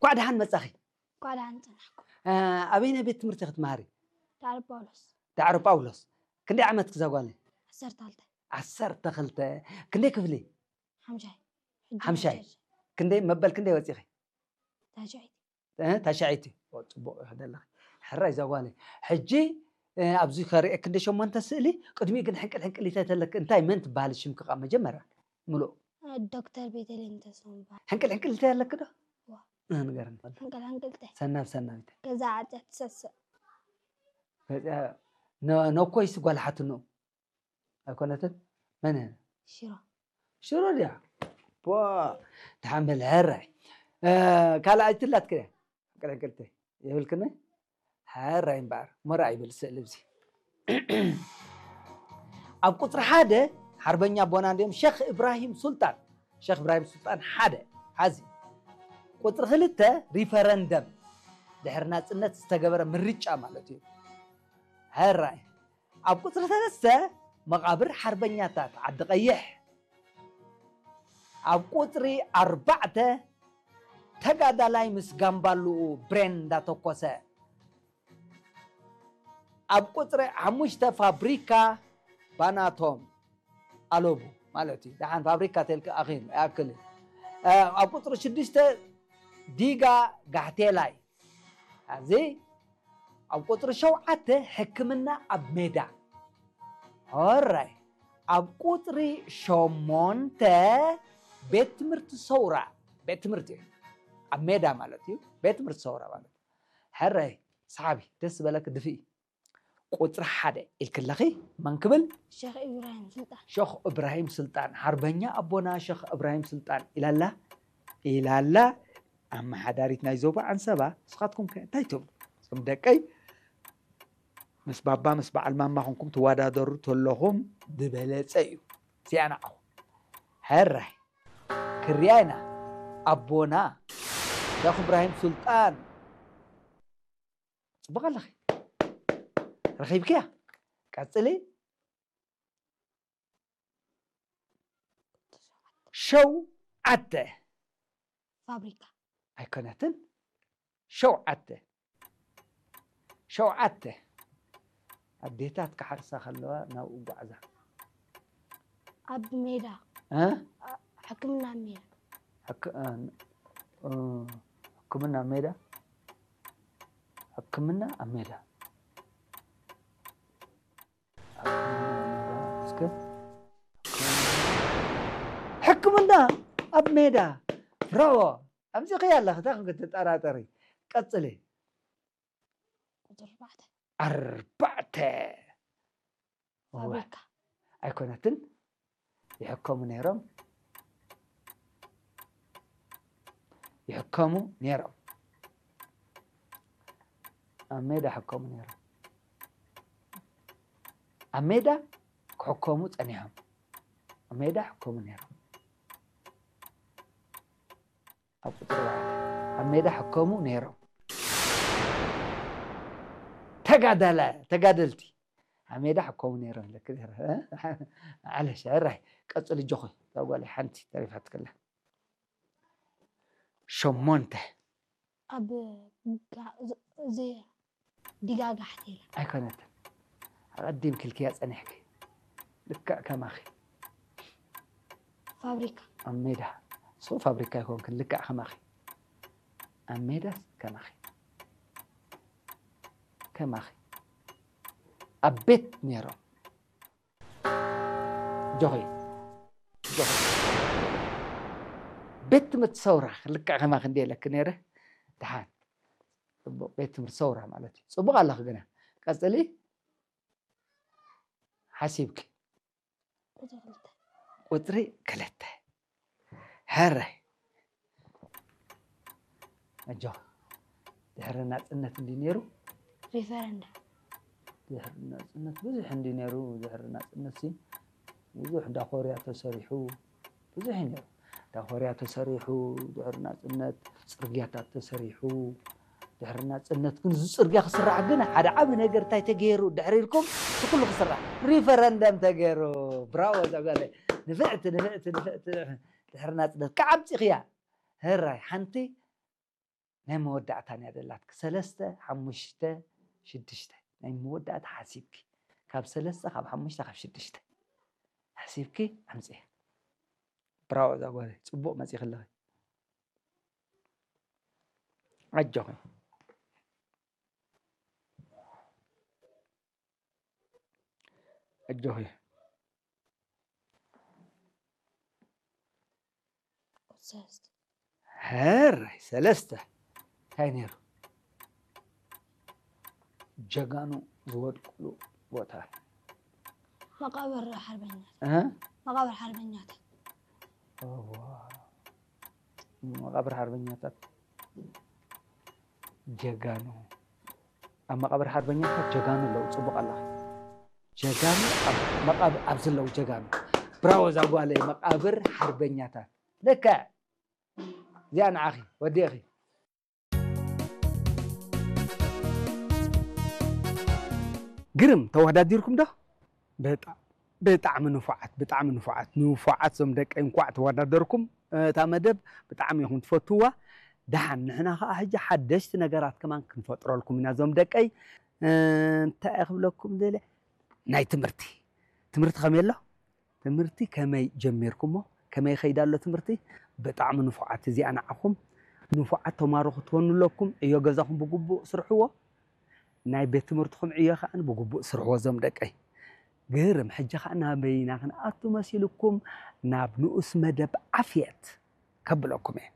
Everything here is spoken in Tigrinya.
እንኳዕ ደሓን መጻኺ። እንኳዕ ደሓን ጸናሕኩም። ኣበይናይ ቤት ትምህርቲ ክትመሃሪ? ዳዕሮ ጳውሎስ። ዳዕሮ ጳውሎስ። ክንደይ ዓመትኪ እዛ ጓለይ? ዓሰርተ ክልተ። ዓሰርተ ክልተ። ክንደይ ክፍሊ? ሓምሻይ። ሓምሻይ። ክንደይ መበል ክንደይ ወፂኺ? ታሻይቲ። ታሻይቲ። ፅቡቅ ይኸደለኺ። ሕራይ እዛ ጓለይ። ሕጂ ኣብዚ ከርእየክ እንደ ሸሞንተ ስእሊ ቅድሚኡ ግን ሕንቅል ሕንቅል ይተተለክ እንታይ መን ትበሃል ሽምኪ ቃ መጀመርያ? ምሉእ ዶክተር ቤተልሔም ተስፋ ምባል። ሕንቅል ሕንቅል ይተተለክ ዶ? ንገርኒ። ሕንቅል ሕንቅልተ። ሰናብ ሰናቢተ። ገዛ ዓፀ ትሰስእ። ነኮይስ ጓል ሓትኖ ኣይኮነትን? መን? ሽሮ። ሽሮ ድያ? ፖ ተሓንበል ሕራይ። ካልኣይቲ ላትክ ድያ? ቅልቅልቲ የብልክን? ሕራይ እምበኣር ሞራ ይብል ስእሊ እዚ። ኣብ ቁፅሪ ሓደ ሓርበኛ ኣቦና እንዲኦም ሸኽ እብራሂም ሱልጣን። ሸኽ እብራሂም ሱልጣን ሓደ ሓዚ። ቁፅሪ ክልተ ሪፈረንደም ድሕሪ ናፅነት ዝተገበረ ምርጫ ማለት እዩ። ሕራይ ኣብ ቁፅሪ ሰለስተ መቓብር ሓርበኛታት ዓዲ ቀይሕ። ኣብ ቁፅሪ ኣርባዕተ ተጋዳላይ ምስ ጋምባሉኡ ብሬን እንዳተኮሰ። ኣብ ቁፅሪ ሓሙሽተ ፋብሪካ ባናቶም ኣለቡ ማለት እዩ። ደሓን ፋብሪካ ተልክ ኣኺል ይኣክል እዩ። ኣብ ቁፅሪ ሽዱሽተ ዲጋ ጋሕቴላይ። ኣብዚ ኣብ ቁፅሪ ሸውዓተ ሕክምና ኣብ ሜዳ። ኦራይ ኣብ ቁፅሪ ሸሞንተ ቤት ትምህርቲ ሰውራ። ቤት ትምህርቲ እዩ ኣብ ሜዳ ማለት እዩ። ቤት ትምህርቲ ሰውራ ማለት ሕራይ ሰሓቢ ደስ ዝበለክ ድፍኢ። ቁፅሪ ሓደ ኢልክለኺ መን ክብል? ሸኽ ኢብራሂም ስልጣን። ሸኽ እብራሂም ስልጣን ሓርበኛ ኣቦና ሸኽ እብራሂም ስልጣን ኢላላ ኢላላ። ኣመሓዳሪት ናይ ዞባ ዓንሰባ ንስኻትኩም ከ እንታይ ትብሉ? እዞም ደቀይ ምስ ባባ ምስ በዓል ማማ ኮንኩም ትወዳደሩ ተለኹም ዝበለፀ እዩ። እዚኣ ንዓኹም ሕራይ ክርያ ኢና። ኣቦና ሸኽ እብራሂም ሱልጣን ፅቡቕ ኣለኺ። ረኺብክያ። ቀፅሊ። ሸውዓተ። ፋብሪካ። ኣይኮነትን። ሸውዓተ። ሸውዓተ። ኣዴታት ክሓርሳ ከለዋ ናብኡ ጓዕዛ። ኣብ ሜዳ። እ? ሕክምና ኣብ ሜዳ። ሕክ- እ፣ እ፣ ሕክምና ኣብ ሜዳ። ሕክምና ኣብ ሜዳ። እስከ ሕክምና ኣብ ሜዳ። ብራቮ። ኣምፂእኽያ ኣለኺ እንታይ ኮንኪ ትጠራጠሪ? ቀፅሊ። ቁፅሪ ኣርባዕተ። ኣርባዕተ። ፋብሪካ። ኣይኮነትን። ይሕከሙ ነይሮም። ይሕከሙ ነይሮም። ኣብ ሜዳ ሕከሙ ነይሮም። ኣብ ሜዳ ክሕከሙ ፀኒሖም። ኣብ ሜዳ ሕከሙ ነይሮም። ኣብ ቁፅሪ ኣርባዕተ ኣብ ሜዳ ሕከሙ ነይሮም። ተጋዳላ ተጋደልቲ ኣብ ሜዳ ሕከሙ ነይሮም። ለክ ነይረ። ዓለሽ ሕራይ ቀፅሊ ጆኾ እዛ ጓለይ ሓንቲ ተሪፋትክላ። ሸሞንተ ኣብ ጋ- እዚ- እዚ ዲጋ ጋሕቴላ። ኣይኮነትን። ኣቐዲምኪ ኢልክያ ጸኒሕኪ። ልክዕ ከማኺ። ፋብሪካ። ኣብ ሜዳ። ንስኹም ፋብሪካ ኣይኮንክን፣ ልክዕ ከማኺ። ኣብ ሜዳስ ከማኺ። ከማኺ። ኣብ ቤት ነይሮም። ጆኺ። ጆኺ። ቤት ትምህርቲ ሰውራ ልክዕ ከማኺ እንድየ ኢለኪ ነይረ። ደሓን። ጽቡቕ፣ ቤት ትምህርቲ ሰውራ ማለት እዩ። ጽቡቕ ኣለኺ ግና። ቀጽሊ። ሓሲብኪ። ቁጽሪ ክልተ። ቁጽሪ ክልተ። ሕራይ። ኣጆኺ። ድሕሪ ናጽነት እንድዩ ነይሩ። ሪፈረንደም። ድሕሪ ናጽነት ብዙሕ እንድዩ ነይሩ። ድሕሪ ናጽነት ሲ ብዙሕ ዳኾርያ ተሰሪሑ። ብዙሕ እዩ ነይሩ። ዳኾርያ ተሰሪሑ፣ ድሕሪ ናጽነት ጽርግያታት ተሰሪሑ። ድሕሪ ናጽነት ግን እዚ ጽርግያ ክስራሕ ግን ሓደ ዓቢ ነገር እንታይ ተገይሩ ድሕሪ ኢልኩም እቲ ኩሉ ክስራሕ ሪፈረንደም ተገይሩ። ብራቮ እዛ ጓለይ። ንፍዕቲ፣ ንፍዕቲ፣ ንፍዕቲ። ድሕሪ ናጽነት ከዓ ኣምጺኽያ። ሕራይ ሓንቲ ናይ መወዳእታ እያ ደላትኪ። ሰለስተ፣ ሓሙሽተ፣ ሽዱሽተ። ናይ መወዳእታ ሓሲብኪ። ካብ ሰለስተ፣ ካብ ሓሙሽተ፣ ካብ ሽዱሽተ። ሓሲብኪ ኣምፅእ። ብራቮ እዛ ጓለይ። ፅቡቕ መፂኺ ኣለኺ። ኣጆኺ። ኣጆኺ። ሰለስተ ሕራይ ሰለስተ። እንታይ ነይሩ? ጀጋኑ ዝወድቁሉ ቦታ። መቃብር ሓርበኛታት እ? መቃብር ሓርበኛታት እዋ። መቃብር ሓርበኛታት ጀጋኑ። ኣብ መቃብር ሓርበኛታት ጀጋኑ ኣለዉ። ፅቡቕ ኣለኺ። ጀጋኑ ኣብ መቃብ-፣ ኣብዚ ኣለዉ ጀጋኑ። ብራቮ እዛ ጓለይ። መቃብር ሓርበኛታት። ልክዕ። እዚኣ ንዓኺ ወዲእኺ። ግርም፣ ተወዳዲርኩም ዶ? ብጣ-፣ ብጣዕሚ ንፉዓት፣ ብጣዕሚ ንፉዓት፣ ንፉዓት ዞም ደቀይ፣ እንኳዕ ተወዳደርኩም። እታ መደብ ብጣዕሚ ኢኹም ትፈትውዋ። ደሓን ንሕና ኸዓ ሕጂ ሓደሽቲ ነገራት ከማን ክንፈጥረልኩም ኢና ዞም ደቀይ። እንታይ እየ ክብለኩም ደልየ፣ ናይ ትምህርቲ፣ ትምህርቲ ከመይ ኣሎ? ትምህርቲ ከመይ ጀሚርኩሞ? ከመይ ይኸይድ ኣሎ ትምህርቲ? ብጣዕሚ ንፉዓት፣ እዚኣ ንዓኹም ንፉዓት ተማሃሮ ክትኮኑ ኣለኩም። ዕዮ ገዛኹም ብግቡእ ስርሕዎ። ናይ ቤት ትምህርትኹም ዕዮ ከዓ ብግቡእ ስርሕዎ ዞም ደቀይ። ግርም፣ ሕጂ ከዓ ናበይና ክንኣቱ መሲልኩም? ናብ ንኡስ መደብ ዓፍየት ከብለኩም እየ።